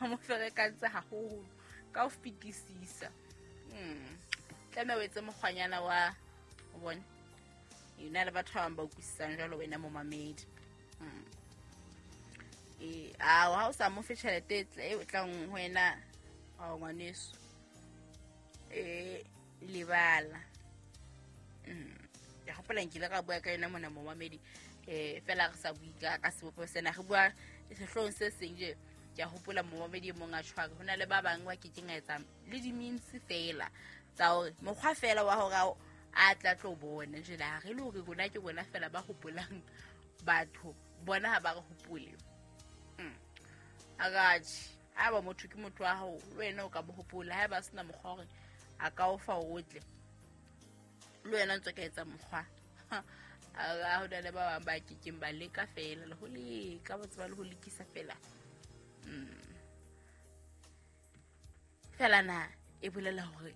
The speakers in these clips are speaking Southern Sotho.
O mo ferekantse haholo ka ho fetisisa. Tlameha o etse mokgwanyana wa o bone. Ena le batho ba bang ba utlwisisang jwalo wena momamedi. Ao ha o sa mo fe tjhelete e tlang ho wena, ao ngwaneso. Lebala. Ke hopola nkile ka bua ka yona mona momamedi. Fela re sa bue ka sebopeho sena, re bua sehloohong se seng je. Ke a hopola momamedi e mong a tshware ho na le ba bang ba kekeng a etsa le di-means fela tsa hore mokgwa fela wa hore a tla tlo bona jwale ha re le hore rona ke rona fela ba hopolang batho bona ha ba re hopole. Akatjhe, ha ba motho ke motho wa hao le wena o ka mo hopola, ha ba sena mokgwa hore a ka o fa o tle le wena ntse ka etsa mokgwa. A ho na le ba bang ba kekeng ba leka fela le ho leka, ba tseba le ho lekisa fela. Fela na e bolela hore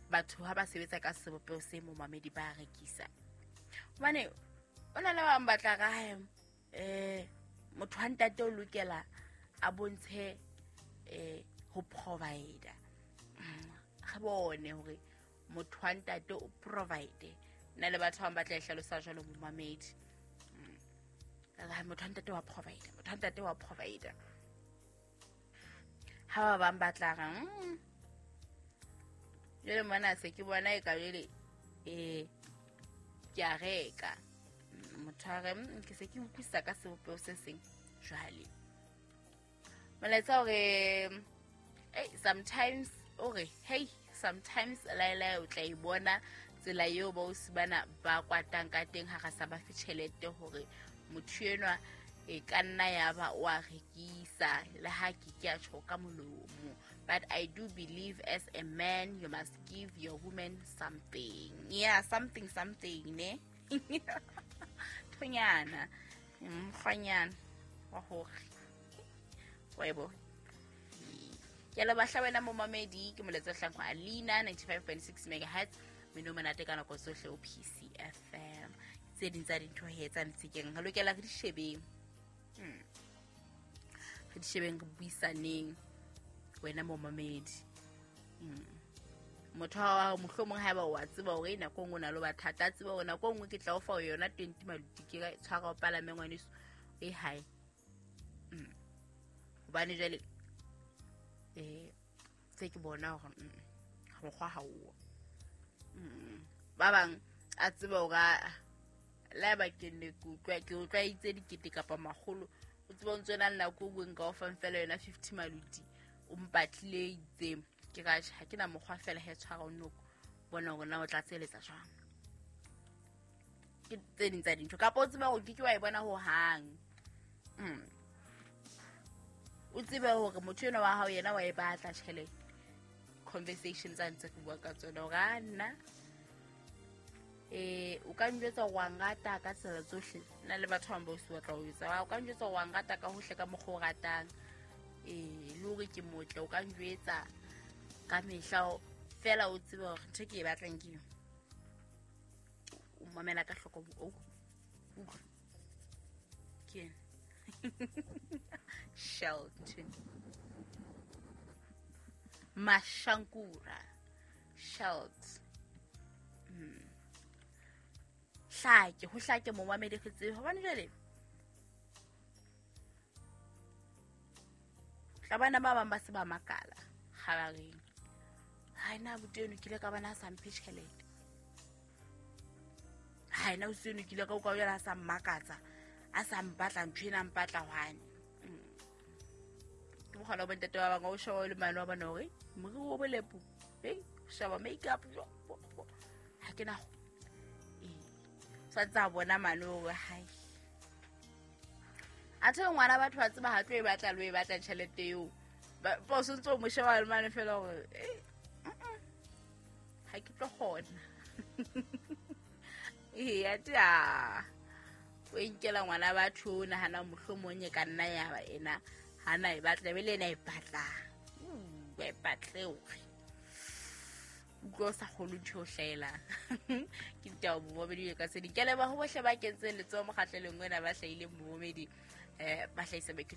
batho ha ba sebetsa ka sebopeho se momamedi ba rekisa. Hobane o na le ba bang ba tla ra hae, motho wa ntate o lokela a bontshe ho provider. Re bone hore motho wa ntate o provide. Nna le batho ba bang ba tla e hlalosa jwalo momamedi. Motho wa ntate wa provider, motho wa ntate wa provider. Ha ba bang ba tla re, jwale mona se ke bona e ka jwale, ke a reka. Motho a re, ke se ke utlwisisa ka sebopeho se seng jwale. Molaetsa hore, hey, sometimes o re, hey, sometimes laelae o tla e bona tsela eo ba o sibana ba kwatang ka teng ha re sa ba fe tjhelete hore motho enwa e ka nna ya ba o a rekisa le ha ke ke a tjho ka molomo. But I do believe as a man you must give your woman something. Yeah, something, something, ne? Thonyana, mokgwanyana wa hore wa e bona. Ke le bahla wena momamedi, ke moletsa hlang ho Alina 95.6 megahertz, mmino monate ka nako tsohle o PCFM. Tse ding tsa dintho he tsa ntsekeng re lokela re di shebeng. Re di shebeng, re buisaneng wena momamedi. Motho wa hao mohlomong haeba o a tseba hore nako e nngwe o na le bothata, a tseba hore nako e nngwe ke tla o fa yona 20 maluti, ke ka tshwara o palame ngwaneso e hae. Hobane jwale se ke bona hore mokgwa ha o. Ba bang a tseba hore le haeba ke ne ke utlwa, ke utlwa itse dikete kapa makgolo, o tseba o ntso na le nako e nngwe nka o fang fela yona 50 maluti, o mpatlile itseng. Ke ra tjhe, ha ke na mokgwa fela he tshwara o noko, bona hore na o tla tseletsa jwang. Ke tse ding tsa dintho. Kapa o tseba hore ke ke wa e bona hohang. O tsebe hore motho enwa wa hao yena wa e batla tjhelete. Conversation tsa ntse re bua ka tsona hore a nna, o ka njwetsa hore wa nrata ka tsela tsohle. Nna le batho ba bang ba o se batla ho etsa. O ka njwetsa hore wa nrata ka hohle ka mokgwa o ratang. Le hore ke motle, o ka njwetsa ka mehla fela o tsebe hore ntho e ke e batlang ke eng. O mamela ka hloko, o utlwa. Ke ena. Shelton. Mashankura. Shelt. Hlake, ho hlake momamedi re tsebe. Hobane jwale tla bana ba bang ba se ba makala kgabareng. Ha ena abuti eno ke ile ka bona a sa mphe tjhelete. Ha ena ausi eno ke ile ka utlwa jwale a sa mmakatsa, a sa mpatla ntho ena a mpatla hwane. Ke mokgwa wa bontate ba bang, o sheba le mane wa bona hore moriri o bolepu, o sheba make-up, jo, bo, bo. Ha ke na ho. Sa tsa bona mane hore hai. Athe ngwana batho ba tseba ha tlo e batla, lo e batla tjhelete eo. Ba o sentse o mo sheba le mane fela hore, ha ke tlo kgona. Athe a, o e nkela ngwana batho, o nahana mohlomong e ka nna ya ba ena, ha na e batla, be le ena e batlang. Wa e batle hore. Utlwa o sa kgolwe ntho e o hlahelang. Ke ditaba bomamedi ka tse ding. Ke a leboha ho bohle ba kentseng letsoho mokgahlelong ona, ba hlahileng bomamedi, ba hlahisa maikutlo.